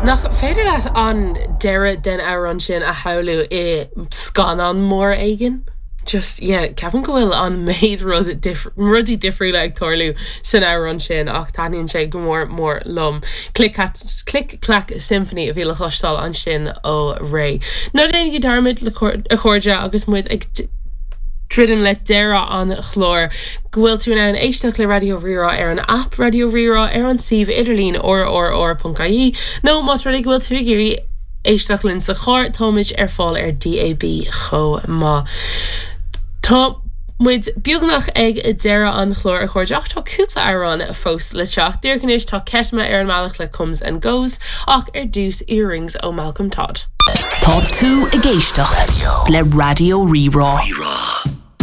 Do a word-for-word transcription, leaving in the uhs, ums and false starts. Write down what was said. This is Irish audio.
Nach féidir leat an deireadh den amhrán sin a shamhlú i scannán mór éigin? Just yeah, ceapaim go bhfuil an méid rud rudaí difriúla ag tarlú san amhrán sin ach taitníonn sé go mór mór liom. Click Click Clack Symphony a bhí le cloisteáil ansin ó Raye. Ná déanaigí dearmad a chairde agus muid ag druidim le deireadh an chláir go bhfuil tú in ann éisteacht le Raidió Rí-Rá ar an app Raidió Rí-Rá ar an suíomh idirlín rrr.ie nó más rud é go bhfuil tú ag iarraidh éisteacht linn sa charr táimid ar fáil ar DAB chomh maith. Tá muid beagnach ag deireadh an chláir a chairde ach tá cúpla amhrán fós le teacht. Díreach anois tá Ceitme ar an mbealach le comes and goes ach ar dtús earrings ó Malcolm Todd. Tá tú ag éisteacht le Raidió Rí-Rá.